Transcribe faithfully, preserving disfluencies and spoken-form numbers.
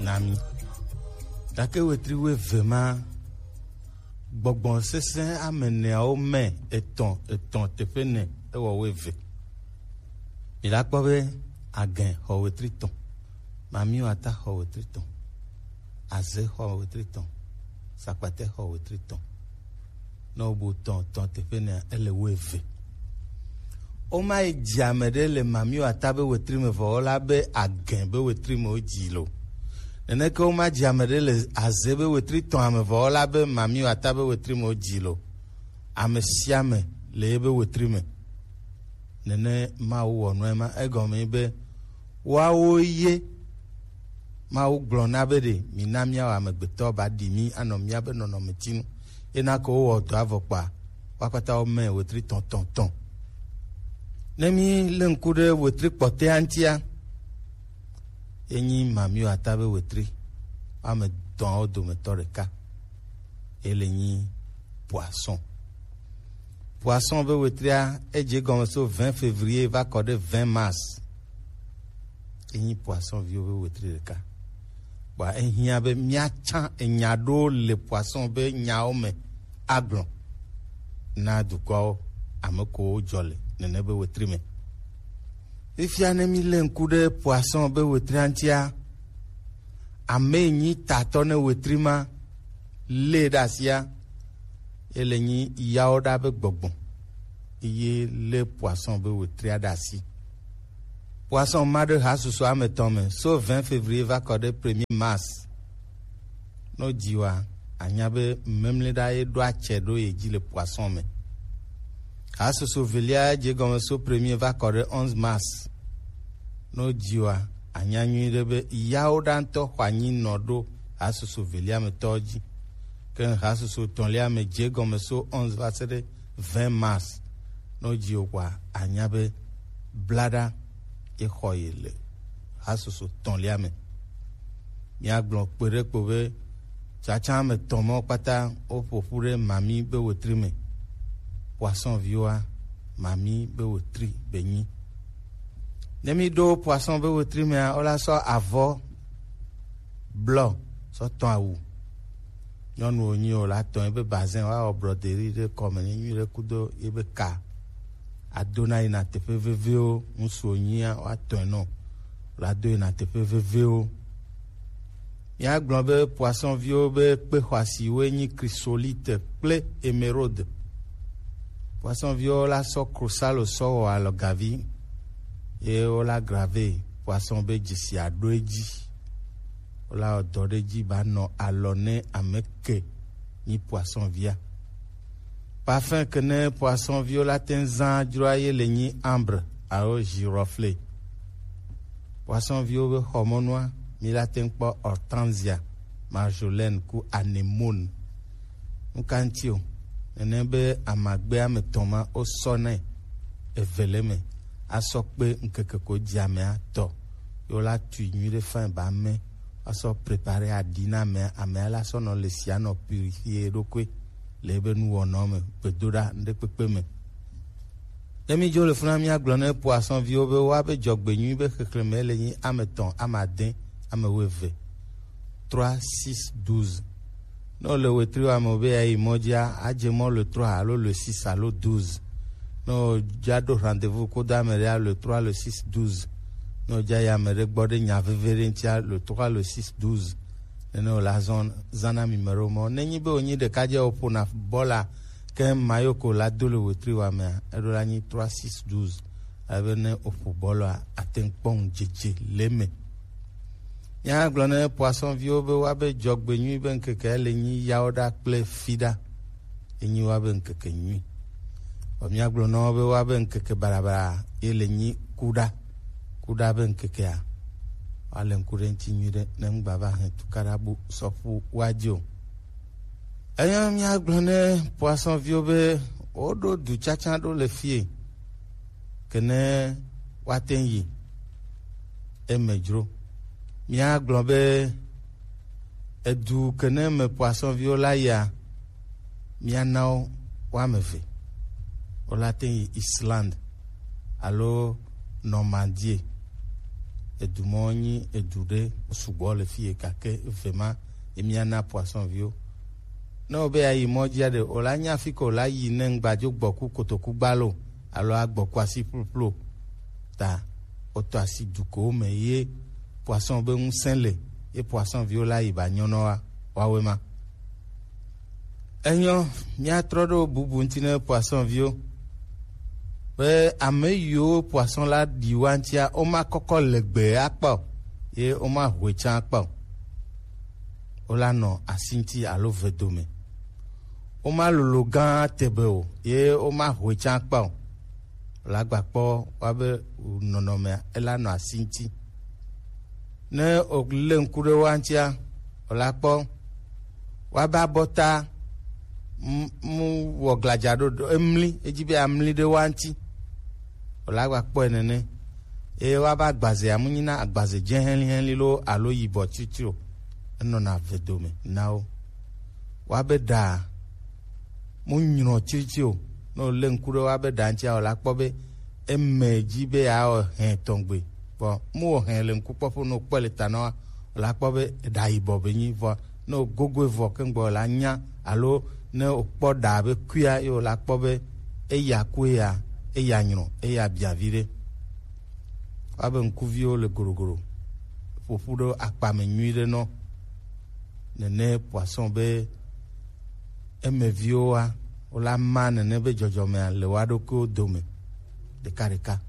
Na mi. Gake wetri wuieve ma, gbɔgbɔ sesẽ ame eneawo me etɔ̃ etɔ̃ teƒe ene ewɔ wuieve. Mi la kpɔ be Agɛ xɔ wetri etɔ̃, Mamiwata xɔ wetri etɔ̃, Aze xɔ wetri etɔ̃, Sakpate xɔ wetri etɔ̃. Ne wobu etɔ̃ etɔ̃ teƒe enea, ele wuieve. Woma yi dzi ame ɖe le Mamiwata be wetri me vɔ wola be Agɛ be wetri me wodzi lo. Neneke woma dzi ame ɖe le Aze be wetri etɔ̃a me vɔ wola be Mamiwata be wetri me wodzi lo. Ame sia ame le ebe wetri me. Nene Mawu wɔ nua ema. Egɔme be woawo ye Mawu gblɔ na be ɖe mina míawɔ amegbetɔ ba ɖi mí anɔ míabe nɔnɔmetinu. Ena ko wowɔ dɔ avɔ kpa, woakpata wome wetri tɔ̃tɔ̃tɔ̃. Ne mí lé ŋku ɖe wetri kpɔtɔea ŋutia, enyi Mamiwata be wetri, ame etɔ̃awo dometɔ ɖeka. Ele nyi poisson. Poisson be wetria, edze gɔme so vingt février va kɔ ɖe vingt mars. Enyi poisson viwo be wetri ɖeka. Bɔa ehiã be míatsã enya ɖewo le poisson be nyawo me agblɔ na dukɔawo, ame kowo dzɔ le nene be wetri me. Fifia ne mílé ŋku ɖe poisson be wetria ŋutia, ame yi nyi tatɔ ne wetri ma lé ɖe asia, ele nyi yawo ɖa be gbɔgbɔ ye lé poisson be wetria ɖe asi. Poisson ma ɖe hasusu ame etɔ̃ me so vingt février va kɔ ɖe premier mars. Ne wodzi wa, anya be memlɛ ɖa ye ɖo atsɛ ɖo ye dzi le poisson me. Hasusu velia dze gɔme so premier va kɔ ɖe onze mars. Ne wodzi wa, anya nyuiɖe be yawo ɖa ŋutɔ xɔ anyi nɔ ɖo hasusu velia me tɔwo dzi. Ke hasusu etɔ̃lia me dze gɔme so onze va se ɖe vingt mars. Ne wodzi wo kɔa, anya be blaɖa ye xɔ ye le hasusu etɔ̃lia me. Míagblɔ kpe ɖe kpo be tsatsa ame etɔ̃ mawo kpata woƒo ƒu ɖe Mami be wetri me. Poisson viwoa, Mami be wetri be nyi. Ne míɖo poisson be wetri mea, wola sɔ avɔ blɔ sɔ tɔ̃ awu. Nyɔnu wonyi o, la tɔ̃ ebe bazin, woawɔ broderie ɖe kɔme nɛ nyuiɖe kudo yebe ka. Adona yina teƒe veviwo, ŋutsu wonyia, woatɔ̃e nɔ. La do yina teƒe veviwo. Míagblɔ be poisson viwo be kpe xɔasiwoe nyi chrysolite kple émeraude. Poisson viwo la sɔ krosalo sɔ wɔ alɔgavi, ye wola grave poisson be dzesi aɖo edzi. Wola wɔ dɔ ɖe edzi ba nɔ alɔ ne ame ke nyi poisson via. Parfum ke ne poisson viwo la te ŋu zã dzroa ye le nyi ambre alo girofle. Poisson viwo be xɔmɔnua, mi la te ŋu kpɔ hortensia, marjolaine ku anémone. Nu ka ŋuti o? Nene be amagbe ame etɔ̃ ma wosɔ nɛ eve le eme asɔ kpe ŋkeke ko dzi amea tɔ. Ye wola tui nyuiɖe fine ba ame, asɔ prepare aɖi na amea, amea la sɔ nɔ le sia nɔ purifier eɖokui le ebe nuwɔnawo me, gbedoɖa, ŋɖekpekpe me. Ne mídzo le funa míagblɔ ne poisson viwo be woabe dzɔgbenyui be xexlẽme le nyi ame etɔ̃, ame ade, ame wuieve. Trois, six, douze. Ne wòle wetri wa me be yeayi mɔ dzia, adze mɔ le trois alo le six alo douze. Ne wòdza ɖo rendez-vous kodo ame ɖea, le trois, le six, douze. Ne wòdza yi ame ɖe gbɔ ɖe nya veve ɖe ŋutia, le trois, le six, douze. Nene wòle azɔ zã na mi me ɖewo mɔ. Ne nyi be wònyi ɖekadze wòƒona bɔla ke mayo ko la do le wetri wa mea, eɖo la nyi trois, six, douze. Ale be ne wòƒo bɔlɔa, ate ŋu kpɔ ŋudzedze le eme. Míagblɔ ne poisson viwo be woabe dzɔgbenyui be ŋkeke le nyi yawoɖa kple fiɖa. Enyi woabe ŋkeke nyui. Vɔ míagblɔ na wo be woabe ŋkeke baɖabaɖa ye le nyi kuɖa. Kuɖa be ŋkekea, woale ŋku ɖe ŋuti nyuiɖe ne ŋgba va hɛn tukaɖa bu sɔ ƒu woadzi o. Eya míagblɔ ne poisson viwo be woɖo du tsatsa ɖo le fie. Ke ne woate ŋu yi eme dzro. Míagblɔ be edu ke ne me poisson viwo la yia, míana wo woame eve. Wola te ŋu yi Islande alo Normandie. Edu mɔ nyi edu ɖe sugbɔ le fi ye gake eve ma ye mía na poisson viwo. Ne wo be ya yi mɔ dzia ɖe, o la nya fi ke o la yi ne ŋgba dzo gbɔ ku kotoku gba lo, alo agbɔ ku asi ƒluƒlu o. Ta o tɔ asi dukowo me ye poisson be ŋusẽ le, ye poisson viwo la yi ba nyɔnɔ wa, wawe ma. Enyɔ, míatrɔ ɖo bubu ŋuti ne poisson viwo. Be ame yiwo poisson la ɖi wa ŋutia, woma kɔkɔ legbe akpa o, ye woma hoe tsã akpa o. Wola nɔ asi ŋuti alo ve dome. Woma lolo gã tebe o, ye woma hoe tsã akpa o. Wola gba kpɔ wa be nɔnɔmea, ela nɔ asi ŋuti. Ne o lé ŋku ɖe wa ŋutia, o la kpɔ wa be abɔta mu wɔ gladza ɖo ɖo emli, edzi be amli ɖe wa ŋuti. O la gba kpɔe nene. Eye wa be agbazea mu nyina agbaze dze hɛlihɛli lo alo yibɔ tsitsi o. Enɔna ve dome na wo. Wa be ɖa mu nyrɔ tsitsi o. Ne o lé ŋku ɖe wa be ɖa ŋutia, o la kpɔ be eme dzi be yeawɔ hɛ tɔgbe. Vɔ mu wɔ hɛ le ŋkukpɔƒe, ne wokpɔe le ta na wa, o la kpɔ be eɖa yibɔ be nyi. Vɔ ne wogogoe vɔ keŋgbɔ, o la nya, alo ne wokpɔ ɖa be kuia, ye o la kpɔ be eya ku eya, eya nyrɔ, eya bia viɖe. Wa be ŋkuviwo le gorogoɖo, ƒoƒu ɖo akpa me nyuiɖe nɔ. Nene poisson be emeviwo wa, wo la ma nene be dzɔdzɔmea le wa ɖokuiwo dome ɖekaɖeka.